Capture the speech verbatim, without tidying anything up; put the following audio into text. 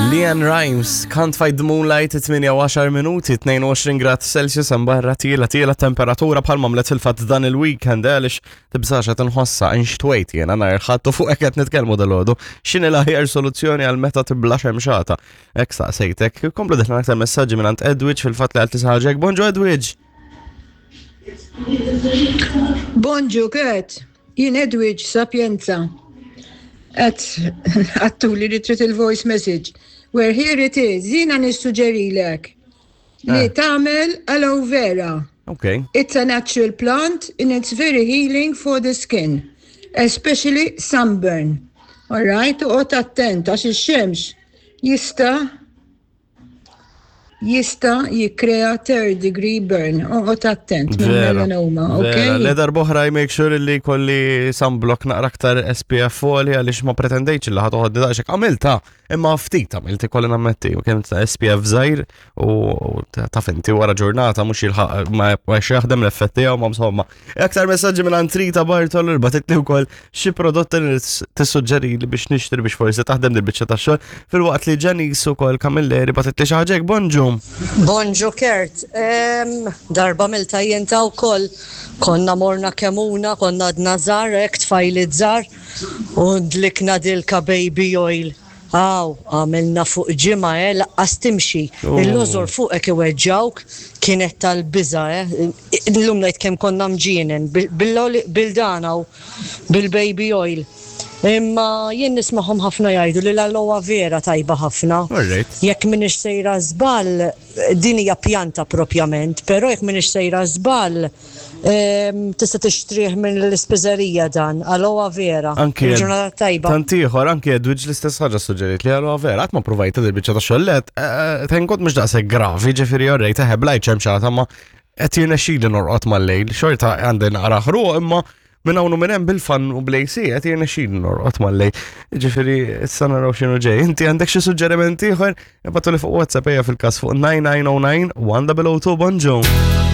LeAnn Rimes, Can't Fight the Moonlight, tmienja u għaxar minuti, tnejn u għoxrin grad Celsius hemm barra, tiela' tiela' temperatura bħal mamlet fil-fatt dan il-weekend, eh, għaliex tibżax qed inħossa inxtwejt jiena nhar il-Ħadd u fuq hekk qed nitkellmu dalgħodu. X'inhi l-aħjar soluzzjoni għal meta tibla xemxata? Hekk saqsejtek. Komplu deħlin aktar messaġġi minn Edwidge fil-fatt li għal tisaġek. Bonġu, Edwidge. Bonġu, Kurt, jien Edwidge Sapienza. Qed għedtuli li trid il-voice message. Where here it is, jiena nissuġġerilek li Eh. tagħmel aloe vera. Okay. It's a natural plant and it's very healing for the skin, especially sunburn. All right, u attent għax ix-xemx jista' jista' jikkrea third degree burn. Oqgħod attent minn Vera, melanoma, vera. okay? Le, darb'oħra I make sure li kolli sunblock naqra aktar S P F għoli għaliex ma pretendejtx li ħa toħodni daqshekk. Għamilta, imma ftit għamilt, ikolli nammetti, u kemm ta' S P F żgħir u u ta' finti wara ġurnata mhux jilħaq ma ma jaħdem l-effett tiegħu, ma insomma. Aktar messaġġi minn Antrita Bartol bagħtitli wkoll xi prodotti li tissuġġeri li biex nixtri biex forsi taħdem dil-biċċa tax-xogħol, filwaqt li Janice ukoll Camilleri bagħtitli xi ħaġa. Bonġu. Bonġu, Kurt, Em, darba għamiltha jien ukoll, konna morna Kemmuna, konna għadna żgħar, hekk tfajliet żgħar, u dlikna dilka baby oil. Aw, għamilna fuq ġimgħa, eh, lanqas timxi. Oh. Il-lożor fuqek iweġġawk, kienet tal-biża', eh. Illum ngħid kemm konna mġienen, bil-dana u bil-baby oil. Imma jien nismagħhom ħafna jgħidu li l-aloe vera tajba ħafna. Alright. Jekk minix sejra żball, din hija pjanta propjament, però jekk minix sejra żball, em, tista' tixtrih minn l-ispiżerija dan, aloe vera. Anki Il-ġurnata tajba. Tant ieħor, anki Edwidge l-istess ħaġa suġġerit li aloe vera, qatt ma provajta dil biċċa ta' xollet, thank God mhux daqshekk gravi, ġifieri orrejt eħe blajt xemxata ma qed jirnexxili norqod mal-lejl, xorta għandi naqra ħruq, imma minn hawn u minn hemm bil-fan u bl-A C qed jirnexxili norqod mal-lejl. Ġifieri issa naraw x'inhu ġej. Inti għandek xi suġġerimenti ieħor? Ibagħtuli fuq WhatsApp, ejja, fil-każ fuq nine nine zero nine one zero zero two. Bonġu.